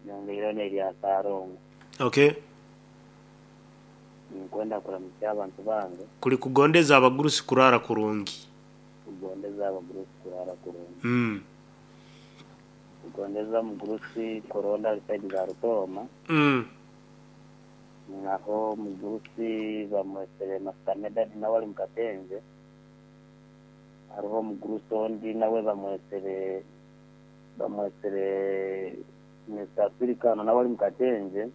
Nyongeireho n'erya Saarongo. Okay. Ninkwenda kuramukya abantu bange. Kuli kugondeza abagurusi kuraara kurungi. Kugondeza abagurusi kuraara kurungi. Kugondeza omugurusi Koronda ali saidi za Rutooma. Aho omugurusi bamwesere Masita Medadi nawe ali mu Katenje. Haroho omugurusi ondi nawe bamwesere Mister Africano nawe ali mu Katenje.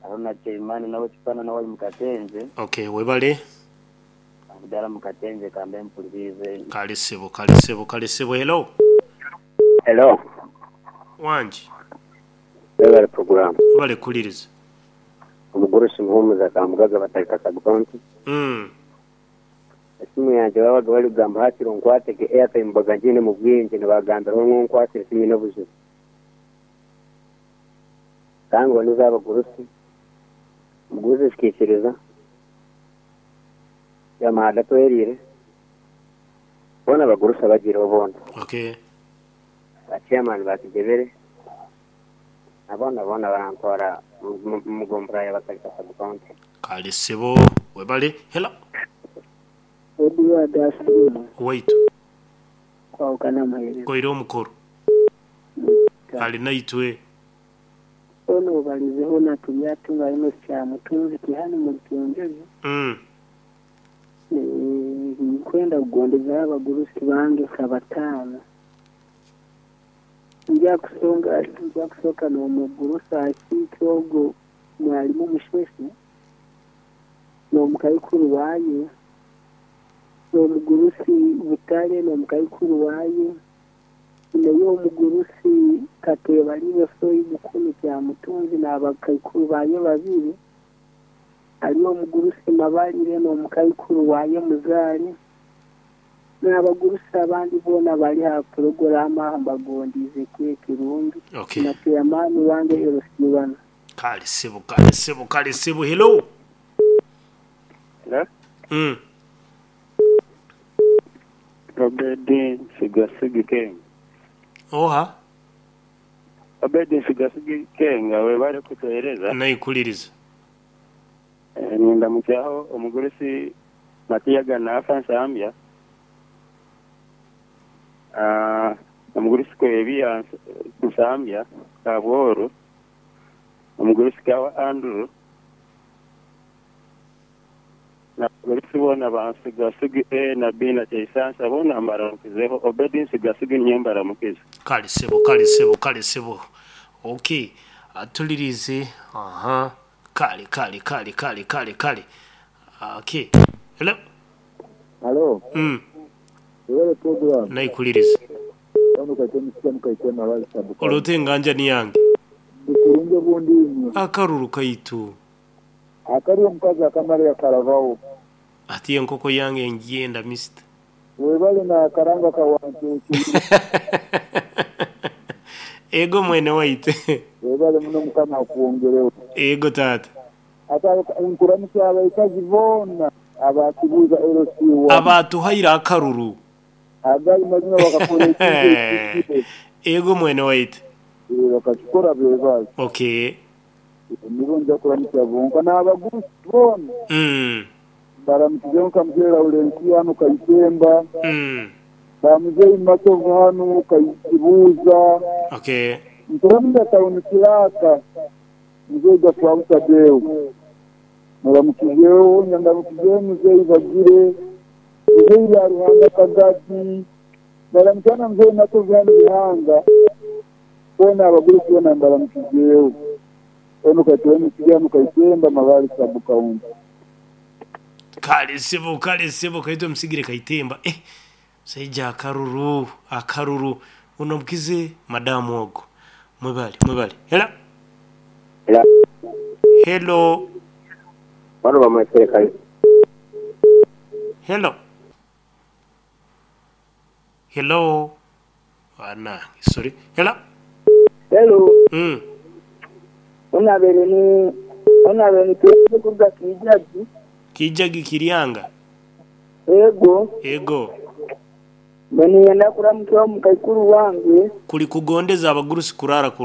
Haroho na Chaimani nawe Kipana nawe ali mu Katenje. Okay, webale. Abudala mu Katenje kambe mpuliriize. Kale sebo, kale sebo, kale sebo. Hello. Hello. Wangi. Webale program. Webale kuliriza. Omugurusi Muhumuza Kamugaga Batalika Sub-County. Esimu yangye babaga bari kugamba hakiri onkwate ge airtime mbaga ngiine mu bwingi nibagambira omwe onkwatire tinyine obuzibu. Kandi ngu n'ez'abagurusi, omugurusi zikaikiriza, Yamahada atweriire, boona abagurusi abagiireho boona. Okay. Ba chairman ba Kigyebere na boona boona barantwara omu gombolola ya Batalika Sub-County. Kale ssebo webale. Hello. Edward Asiimwe. Owaitu. Kwahukana muheereza. Koire omukoro. Ali naitwe. Hoona obalize hoona turi atunga Enosi Kyamutunzi tihanu muri Kyenjojo. Ninkwenda kugondezaho abagurusi bange nka bataano. Nja kusonga nja kusooka n'omugurusi akiike ogwo mwalimu Musheshe n'omukaikuru waaye, n'omugurusi Butare n'omukaikuru waaye, naye omugurusi Kateebalibe Soyi Mukulu Kyamutunzi n'abakaikuru baaye babiri, hariyo omugurusi Mabarire n'omukaikuru waaye Muzaare, n'abagurusi abandi boona bari aha puroguraamu aha mbagondiize ekiro ekirungi. Okay. Na chairman wange Erosibana. Kale sebo, kale sebo, kale sebo. Hello. Hello. Obedi Nsigasigi Kenga. Oha? Obedi Nsigasigi Kenga webale kutuwereza. Naikuliriza. Nindamukyaho omugurusi Matiya Ganafa Nsambya, omugurusi Kwebiya Nsambya Kabworu, omugurusi Kawa Andrew, n'abagurusi boona ba Nsigasigi A na B na Kyeisansa boona mbaramukizeho. Obedi Nsigasigi niinye mbaramukize. Kale sebo, kale sebo, kale sebo. Okay, atulirize. Aha. Kale, kale, kale, kale, kale, kale. Okay. Hello. Halo. Webale program. Naikuliriza. Ono kaite musika mukaite mabali sabu. Olote enganja ni yange. Ndi kurungi obundi inywe. Akaruru kaitu. Akali omukazi akamara yakaravaho. Ati enkoko yange ngyenda mister. Webale na akaranga kawancucu. Ego mwene waitu. Webale muno Mukama akwongereho. Ego taata. Ate nkuramusa abaikazi boona abakibuuza LC1. Abatuhaire akaruru. Agali mazima bakakora ekintu ekihikire. Ego mwene waitu. Bakakikora bebaze. Okay. Nibo nja kuramusa bonka n'abagurusi boona. Baramukizeho nka muzeeyi Laurensi hanu Kaitemba. Ba muzeeyi Matovu hanu Kaikibuuza. Okay. Nkuramusa tawuni kiraka. Muzeeyi Gafwabu Tadeo. Muramukizeho, nyandamukizeho muzeeyi Bagire. Muzeeyi Byaruhanga Kagati. Baramukiza na muzeeyi Matovu hanu Bihanga. Boona abagurusi boona mbaramukizeho. Ono kaitwe musiga hanu Kaitemba Mabali Sub County. Kale sebo, kale sebo, kaitwe musigire Kaitemba. Musaija akaruru, akaruru. Unomukize madamu ogo. Mwebale, mwebale. Hello. Hello. Hello. Bano bamwesere kale. Hello. Hello. Ana, sorry. Hello. Hello. Onabere ni tuweze kuruga Kijagi. Kijagi Kirianga. Ego. Ego. Bani yenda kuramukiwa mukaikuru wange. Kuli kugondeza abagurusi kurara kuru.